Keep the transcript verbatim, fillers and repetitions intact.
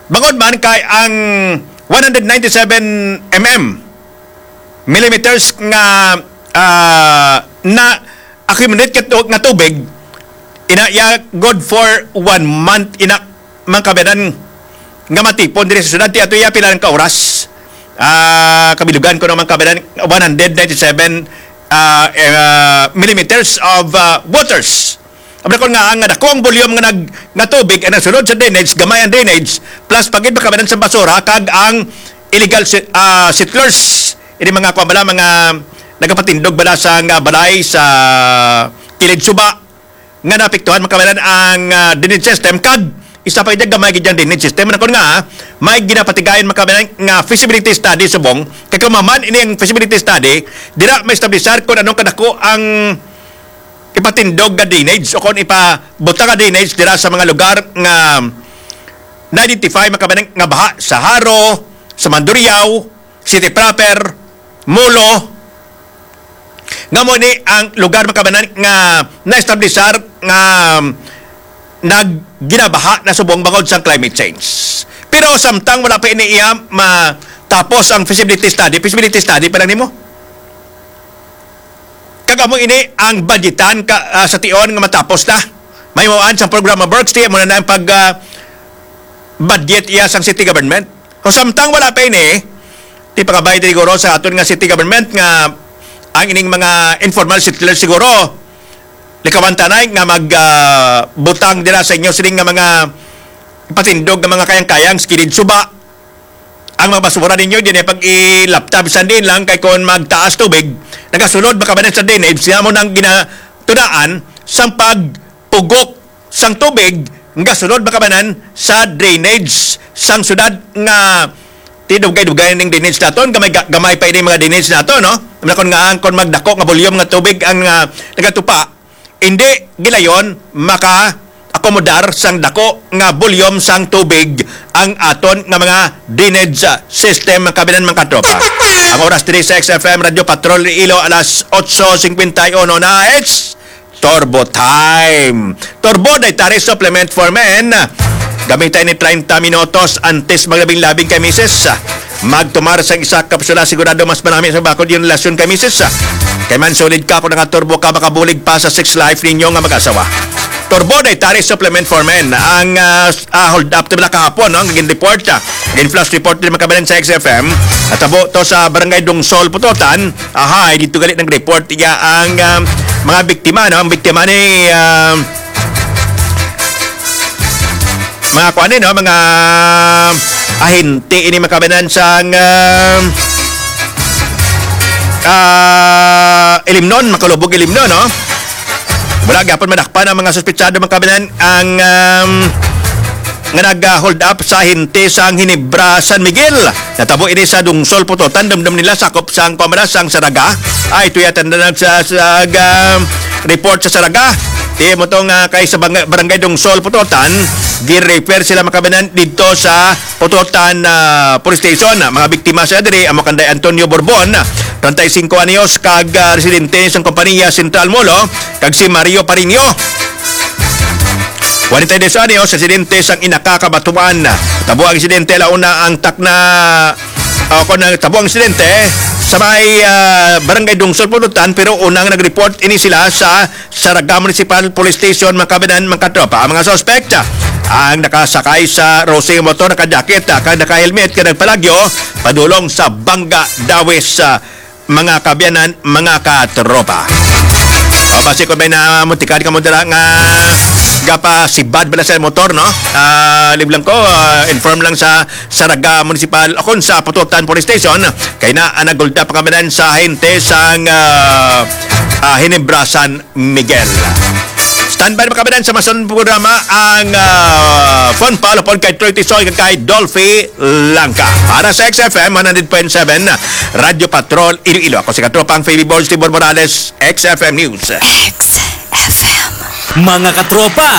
Bangod man kay ang one hundred ninety-seven mm, millimeters nga, ah, na accumulate nga tu-, nga tubig, ina iya good for one month, ina, mga kabayanan, nga matipon diri sa syudad. Ti ato iya pila lang ka oras. Ah, kabilugan ko naman, kabayanan, one hundred ninety-seven, ah, eh, ah, millimeters of, ah, waters. Amo na kon nga ang dako ang volume nga nag-, nga tubig ang nasulod sa drainage, gamay ang drainage, plus pagid makabanan sa basura kag ang illegal se-, ah, settlers, ini mga kuwan bala, mga nagapatindog bala sa nga balay sa kilid suba nga naapektuhan makabanan ang, ah, drainage system, kag isa pa gid gamay gid ang drainage system. Nakon nga may ginapatigayon makabanan nga feasibility study subong kay kung maman ini ang feasibility study, dira ma-establisar kung anong kadako ang ipatindog nga drainage o kon ipabutang nga drainage dira sa mga lugar nga na-identify, makabanan nga baha sa Jaro, sa Mandurriao, City Proper, Molo, nga mo ni ang lugar, makabanan nga na-establisar nga nagginabaha na subong bangod sa climate change. Pero samtang wala pa ini iya matapos ang feasibility study, feasibility study pa lang nimo. Kag amo ini ang budgetan ka, ah, sa tion nga matapos na. May mawaan sa program of works, ti amo na ang pag, ah, budget iya sang city government. O samtang wala pa ini, ti pangabay siguro sa aton nga city government nga ang ining mga informal settlers siguro likawan tanay nga mag, ah, butang dira sa inyo sining nga mga patindog nga mga kayang-kayang sa kilid suba. Ang mga basura ninyo, di na pag-ilapta bisan diin lang, kay kon magtaas tubig, nagasulod makabanan sa drainage, siya mo nang ginatudaan sang pagpugok sang tubig nga sulod makabanan sa drainage sang syudad nga ti dugay-dugay ning drainage naton, gamay, ga-, gamay pa ini mga drainage nato, no? Nakon nga ang kon magdako nga volume nga tubig ang, ah, nagatupa, hindi gilayon maka-akomodar sang dako nga volume sang tubig ang aton nga mga drainage, ah, system, mga kabinan, mga katropa. Ang oras diri sa X F M Radio Patrol Iloilo, alas otso cincuenta y uno na, it's Turbo Time. Turbo Dietary Supplement for Men. Gamitan ni treinta minutos antes maglabing-labing kay misis. Magtumar sang isa ka kapsula, sigurado mas manami sa bakod yung relasyon kay misis. Kay man solid ka kung nakaturbo ka, makabulig pa sa sex life ninyo nga mag-asawa. Turbo Dietary Supplement for Men. Ang, ah, s-, ah, hold up to nila kahapon, no? Ang gin-report, ah, gin-flash report din makabalan sa X F M. Natabo to sa Barangay Dungsol, Putotan. Ahay, dito gali nag-report iya ang, ah, mga biktima, no? Ang biktima ni, ah, mga kuan ni, no? Mga ahente ini makabanan sang, ah, ah, Ilimnon, Makalubog, Ilimnon, no? Wala gyapon madakpan ang mga suspetsado, mga kabanan, ang, um, nga nag-hold up sa ahente sang Ginebra San Miguel. Natabo ini sa Dungsol, Putotan, dumdum nila sakop sang Commonwealth sang Saraga. Ay, tuya tanda na sa, sa, um, report sa Saraga. Ti mo to nga kay sa bang-, Barangay Dungsol, Putotan, gi-refer sila, mga kabanan, dito sa Putotan, ah, Police Station. Mga biktima sa diri, amo kanday Antonio Borbon, treinta y cinco anyos, kag, ah, residente sang kompanya Central Molo, kag si Mario Parinio, kwarenta y dos anyos, residente sang Inaka, Cabatuan. Tabo ang insidente, launa ang takna, ah, kon nagtabo ang insidente sa may, ah, Barangay Dungsol, Putotan, pero unang nag-report ini sila sa Saraga Municipal Police Station, mga kabanan, mga katropa. Ang mga suspect, ang nakasakay sa rosing motor, naka-jacket, ah, kag naka-helmet, kag nagpalagyo padulong sa Banga, Dawis, ah, mga kabiyanan, mga katropa. O, basi kung may namuntikan ka mo dira nga gapasibad bala sa motor, no? Ah, lib lang ko, ah, inform lang sa Saraga Municipal o kung sa Putotan Police Station, kay na, ah, nagulda pa kami sa ahente sang, ah, ah, Ginebra San Miguel. Standby na kami sa masunod programa ang, ah, Fun Pal upod kay Troy Tisoy kag kay Dolphy Langka. Para sa X F M one hundred point seven, Radyo Patrol, Iloilo. Ako si Katropang Faby Boy, Tibor Morales, X F M News. X F M. Mga katropa,